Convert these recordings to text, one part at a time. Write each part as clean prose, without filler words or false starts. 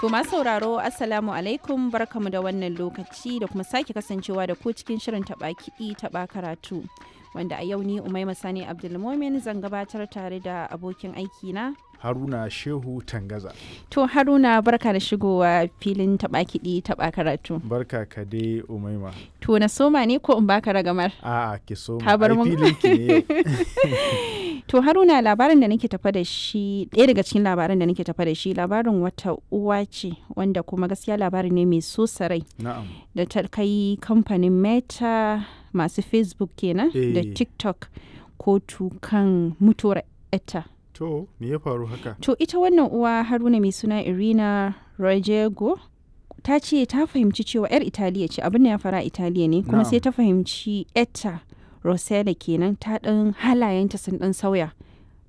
To masu sauraro, Assalamu alaikum, barkamu da wannan lokaci da kuma sake kasancewa da ku cikin shirin taɓa kiɗi taɓa karatu. Wanda a yau ni Umaima Sani Abdulmomin zan gabatar tare da abokin aiki na Haruna Shehu Tangaza. To Haruna, barka da shigowa filin taɓa kiɗi taɓa karatu. Barka ka dai, Umaima. To na soma ne ko in baka ragamar? A'a, ki soma. Ka bar Ai, mun. filin ki ne yau. To Haruna, labarin da nake tafa da shi, ɗaya daga cikin labaran da nake tafa da shi, labarin wata uwa ce wanda kuma gaskiya labari ne mai so sarai Na'am. da ta kai kamfanin Meta, masu Facebook kenan, da TikTok kotu kan mutuwar etta. To me ya faru haka? To ita wannan uwa, Haruna, mai suna Irina Rojego, ta ce ta fahimci cewa 'yar Italiya ce, abin da ya fara Italiya ne, kuma sai ta fahimci etta Rosella kenan ta ɗan halayenta sun ɗan sauya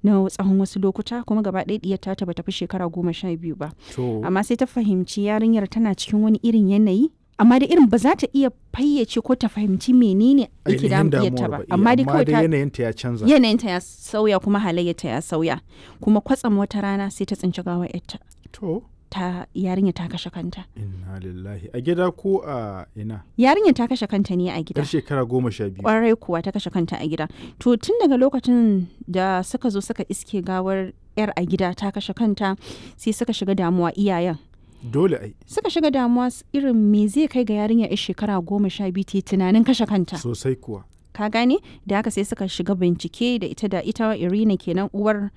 na tsawon wasu lokuta, kuma gaba ɗaya ɗiyar ta bata fi shekara 12 ba. To Amma sai ta fahimci yarinyar tana cikin wani irin yanayi, amma da irin ba za ta iya fayyace ko ta fahimci menene yake ainihin damun ɗiyarta damuwar ba. ba. Eh, Amma dai kawai ta yanayinta ya canza. yanayinta ya sauya kuma halayyarta ya sauya, kuma kwatsam wata rana sai ta tsinci gawar yarta. To Ta yarinya ta kashe kanta. Inna lillahi. A gida ko a ina? Yarinya ta kashe kanta ne a gida. Yar shekara 12. Kwarai kuwa, ta kashe kanta a gida. To tun daga lokacin da suka zo suka iske gawar yar a gida ta kashe kanta, sai suka shiga damuwa, iyayen. Dole ai. Suka shiga damuwa irin me zai kai ga yarinya yar shekara 12 ta yi tunanin kashe kanta? Sosai kuwa. Ka gane? Da haka sai suka shiga bincike da ita Irina kenan, uwar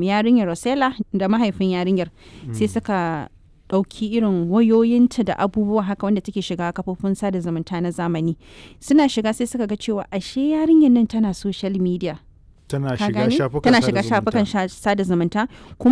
yarinyar Rosella, da mahaifin yarinyar. Sai suka ɗauki irin wayoyinta da abubuwa haka wanda take shiga kafofin sada zumunta na zamani. Suna shiga sai suka ga cewa ashe yarinyar nan tana social media. Tana Ka shiga gane? shafukan Tana sada shiga zumunta. shafukan sada zumunta kuma.